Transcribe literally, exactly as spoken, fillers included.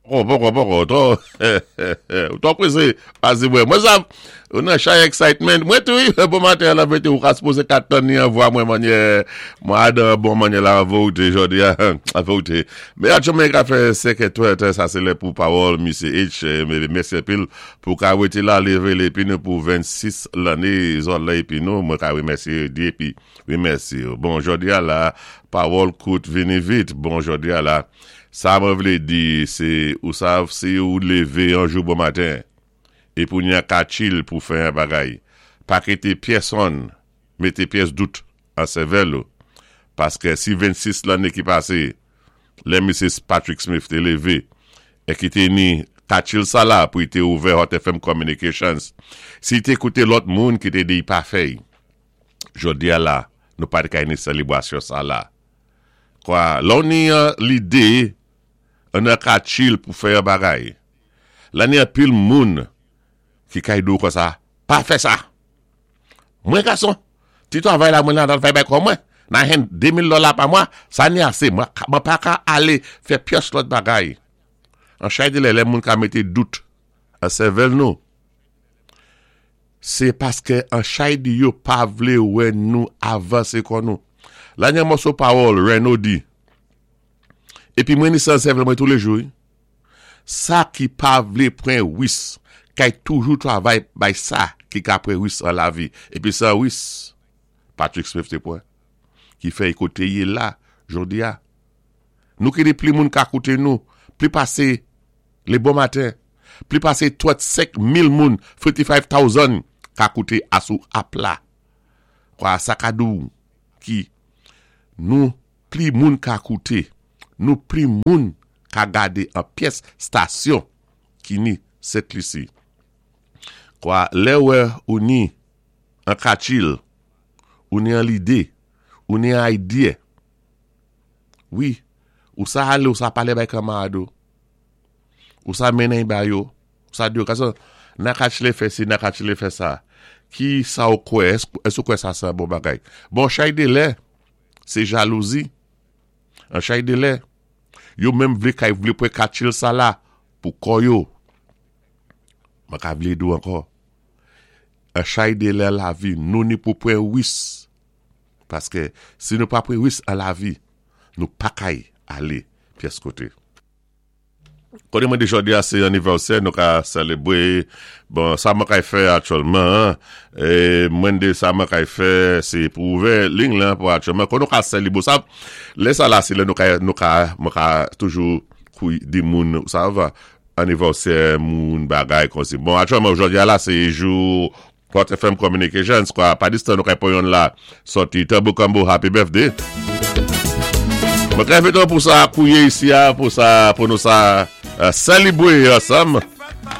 Poko, poko, poko, twò, ou twò pwésé, pasé mwen. Mwen sa, ou nan chay excitement. Mwen tou, bon maten la vérité, ou ka sipoze ka tann an vwa mwen manyè, mwen adan bon manyè la vérité jodi a, la vérité. Men aktyèlman ka fè senk è sa sé lè pou pawòl Misyé H, mèsi anpil pou ka wété la lévé épi nou pou vennsis lanné zòt la épi nou, mwen ka wémèsyé di épi wémèsyé. Bon, jodi a la, pawòl kout vini vit. Bon, jodi a la, sa mwen vlé di, sé, ou sav, si ou lévé yon jou bon maten, é pou ni an kachil pou fè yon bagay, pa kité pyèsonn, mété pyès dout an sèvèl ou, paské si vennsis lanné ki pasé, lè Missus Patrick Smith té lévé, é ki té ni kachil sa la pou té ouvè Hot F M Communications, si té kouté lòt moun ki té di pa fè, jodi a la, nou pa té ka ni sélébwasyon sa la. Kwa, lò ni an lidé, an an kachil pou fè yon bagay. La ni an pil moun ki kay do kon sa, pa fè sa. Mwen gason, ti travay la mwen la dan fè bay kon mwen, nan hen de mil dola pa mwa, sa ni ase, mwen, mwen pa ka ale fè pyès lòt bagay. An chay de lè, lè moun ka mete dout an sèvèl nou. Se paske an chay di yo pa vle wè nou avanse kon nou. La ni an moso pawòl, Reno di. Epi mwen ni san sèvèl mwen tous les jours. Sa ki pa vle pran wis, kay toujou travay bay sa ki ka pran wis an la vi. Epi sa wis, Patrick Smith te pran, ki fè koté yé la, jodi a. Nou ki di pli moun ka koute nou, pli pase le bon matin, pli pase trannsenk mil moun, thirty-five thousand ka koute asou app la. Kwa sa ka dou ki nou pli moun ka koute, nou pli moun ka gade an pyès stasyon ki ni Sent Lisi. Kwa lè wè ou ni an kachil, ou ni an lidé, ou ni an idea. Wi, ou sa ale ou sa pale bay kamarad ou. Ou sa menen bay yo. Ou sa di yo, kaso, nan kachile fè si, nan kachile fè sa. Ki sa ou kwe, es ou kwe sa sa bon bagay? Bon, chay de lè, se jalouzi. An chay de lè, yo menm vle kay vle pwe kachil sa la pou koyo. Mwen ka vle dou ankò. An chay de lè la vi, nou ni pou pwen wis. Paske si nou pa pwen wis an la vi, nou pa kay ale pyès koté. Koné mwen di jodi a sé anivèsè, nou ka sélébwé, bon, sa mwen kay fè aktyèlman, é mwen di sa mwen kay fè, sé pou ouvè liy lan pou aktyèlman, kon nou ka sélébwé, sa, lè sa la, sé lè nou ka, nou ka, mwen ka toujou kou di moun, sa va, anivèsè moun bagay kon si. Bon, aktyèlman, jodi a la, sé jou Hot F M Communications, kwa, pa distan nou kay poyon la, soti Tabou Combo, happy birthday. Mwen kay fè pou sa kouye isi a, pou sa, pou nou sa, uh, sélébwé ansanm.